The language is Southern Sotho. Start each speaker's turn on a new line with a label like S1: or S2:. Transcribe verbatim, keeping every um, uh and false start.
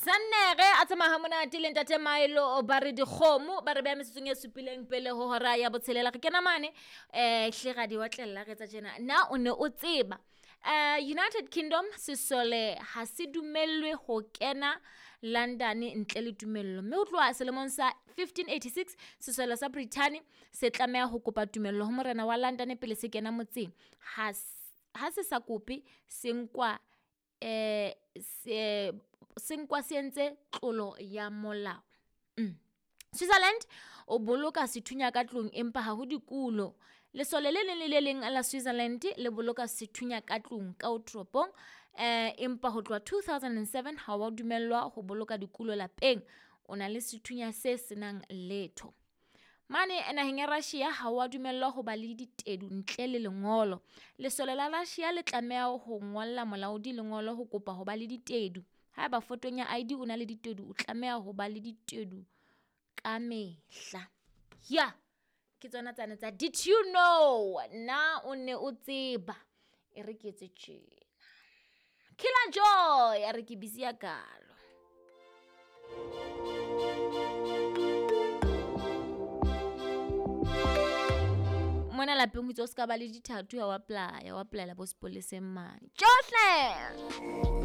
S1: Sannere a tsamaya ha monate le ntate Maelo ba re dikgomo ba re beha metsotsong e supileng pele ho hora ya botshelela. Re kena mane um hle ra di otlella re etsa tjena. Na o ne o tseba uh, United Kingdom sesole ha se dumellwe ho kena London ntle le tumello, mme ho tloha selemong sa fifteen eighty-six sesole sa Britain se tlameha ho kopa tumello ho morena wa London pele se kena motseng. Ha ha se sa kope se nkwa eh se se nkwa se entse tlolo ya molao. Mm. Switzerland o boloka sethunya ka tlung empa ha ho dikulo. Lesole le leng le le leng la Switzerland le boloka sethunya ka tlung ka o toropong, eh empa ho tloha two thousand and seven ha wa dumellwa ho boloka dikulo lapeng. O na le sethunya se senang letho. Mane naheng ya Russia ha wa dumellwa ho ba le ditedu ntle le lengolo. Lesole la Russia le tlameha ho ngolla molaodi lengolo ho kopa ho ba le ditedu. Haeba fotong ya I D o na le ditedu, o tlameha ho ba le ditedu ka mehla. Ya, ke tsona tsane tsa did you know? Na o ne o tseba? E re ke etse tjena. Killer Joy, a re ke busy ya kalo. Mona lapeng ho itse o ska ba le dithathu ha wa apply, wa applyela bo sepoleseng mane. Tjohle!